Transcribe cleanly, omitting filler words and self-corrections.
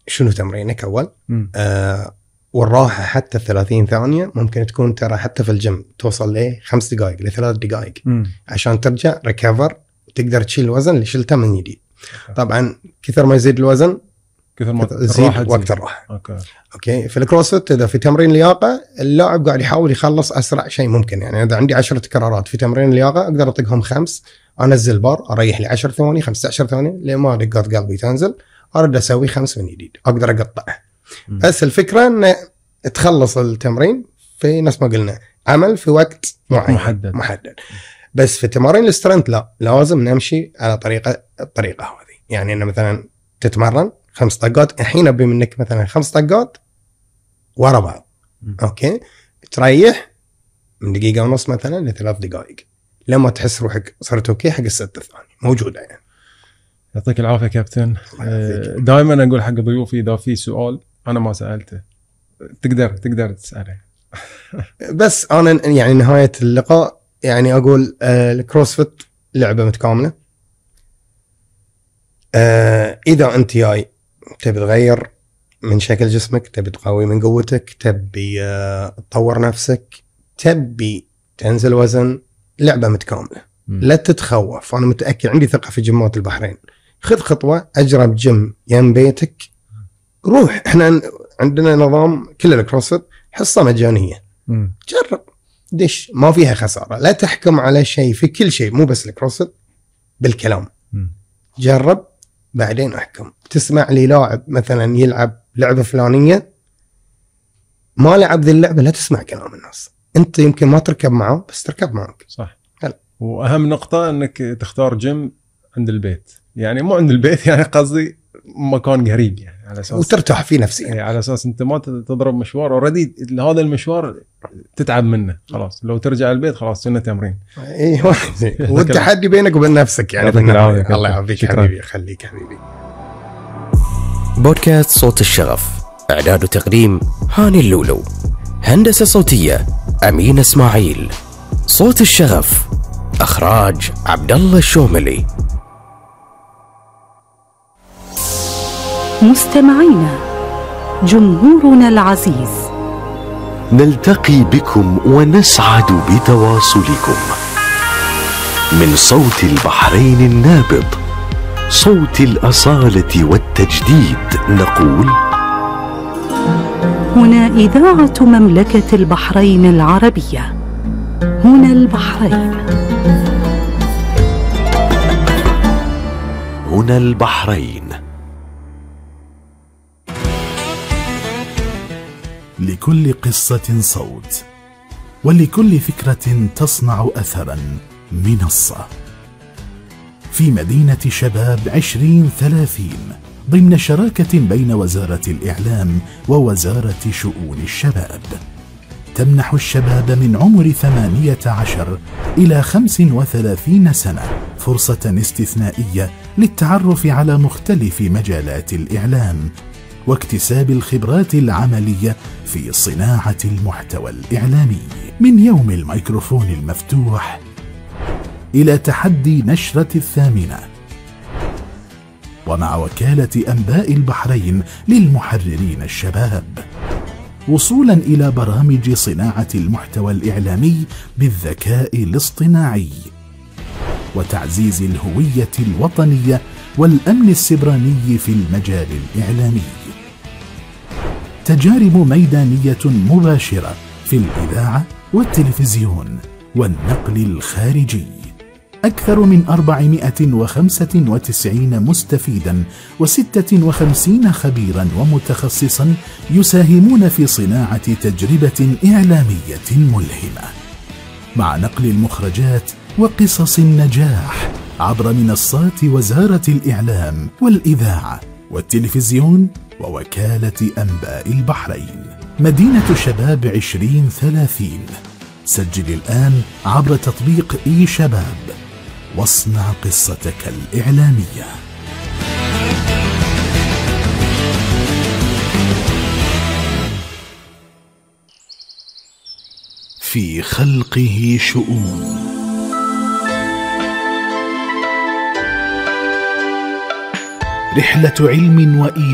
شنو تمرينك أول. والراحة حتى 30 ثانية ممكن تكون ترى حتى في الجيم توصل ل 5 دقائق ل 3 دقائق عشان ترجع ريكفر وتقدر تشيل الوزن اللي شلته من جديد. طبعا كثر ما يزيد الوزن كثر ما تزيد وقت الراحة. أوكي. في الكروسفيت إذا في تمرين لياقة اللاعب قاعد يحاول يخلص أسرع شيء ممكن. يعني إذا عندي 10 تكرارات في تمرين لياقة أقدر أطقهم 5، أنزل بار أريح لي 10 ثواني 15 ثواني لما دقات قلبي تنزل أرد أسوي 5 من جديد أقدر أقطعه. بس الفكرة أن تخلص التمرين في نفس ما قلنا عمل في وقت محدد. بس في تمارين السترنت لا، لازم نمشي على الطريقة هذه. يعني أن مثلا تتمرن 5 طقات الحين أبي منك مثلا 5 طقات ورا بعض. أوكي. تريح من دقيقة ونص مثلا ل3 دقائق لما تحس روحك صرت أوكي حق 6 ثواني موجودة. يعني يعطيك العافية كابتن. دائما أقول حق ضيوفي إذا في سؤال أنا ما سألته تقدر تسأله. بس أنا يعني نهاية اللقاء يعني أقول الكروسفيت لعبة متكاملة. إذا أنت جاي تبي تغير من شكل جسمك، تبي تقوي من قوتك، تبي تطور نفسك، تبي تنزل وزن، لعبة متكاملة. لا تتخوف. أنا متأكد عندي ثقة في جيمات البحرين. خذ خطوة أجرب جيم يم بيتك. روح. إحنا عندنا نظام كل الكروسفيت حصة مجانية. جرب دش ما فيها خسارة. لا تحكم على شيء في كل شيء مو بس الكروسفيت بالكلام. جرب بعدين أحكم. تسمع لي لاعب مثلا يلعب لعبة فلانية ما لعب ذي اللعبة لا تسمع كلام الناس. أنت يمكن ما تركب معه بس تركب معك. صح. وأهم نقطة أنك تختار جيم عند البيت. يعني مو عند البيت يعني قصدي مكان قريب يعني على أساس وترتاح فيه نفسيا. يعني على أساس أنت ما تضرب مشوار أوريدي هذا المشوار تتعب منه خلاص. لو ترجع البيت خلاص سنة تمرين. ايوه. والتحدي بينك وبين نفسك يعني. الله يعافيك حبيبي. خليك حبيبي. بودكاست صوت الشغف. إعداد وتقديم هاني اللولو. هندسة صوتية أمين إسماعيل. صوت الشغف إخراج عبد الله الشوملي. مستمعينا جمهورنا العزيز، نلتقي بكم ونسعد بتواصلكم من صوت البحرين النابض، صوت الأصالة والتجديد. نقول هنا إذاعة مملكة البحرين العربية. هنا البحرين. هنا البحرين. لكل قصة صوت، ولكل فكرة تصنع أثرا منصة. في مدينة شباب 2030 ضمن شراكة بين وزارة الإعلام ووزارة شؤون الشباب، تمنح الشباب من عمر 18 إلى 35 سنة فرصة استثنائية للتعرف على مختلف مجالات الإعلام واكتساب الخبرات العملية في صناعة المحتوى الإعلامي، من يوم الميكروفون المفتوح إلى تحدي نشرة 8، ومع وكالة أنباء البحرين للمحررين الشباب، وصولا إلى برامج صناعة المحتوى الإعلامي بالذكاء الاصطناعي، وتعزيز الهوية الوطنية والأمن السبراني في المجال الإعلامي. تجارب ميدانية مباشرة في الإذاعة والتلفزيون والنقل الخارجي. أكثر من 495 مستفيدا و56 خبيرا ومتخصصا يساهمون في صناعة تجربة إعلامية ملهمة، مع نقل المخرجات وقصص النجاح عبر منصات وزارة الإعلام والإذاعة والتلفزيون ووكالة أنباء البحرين. مدينة شباب 2030. سجل الآن عبر تطبيق إي شباب واصنع قصتك الإعلامية. في خلقه شؤون. رحلة علم وإيمان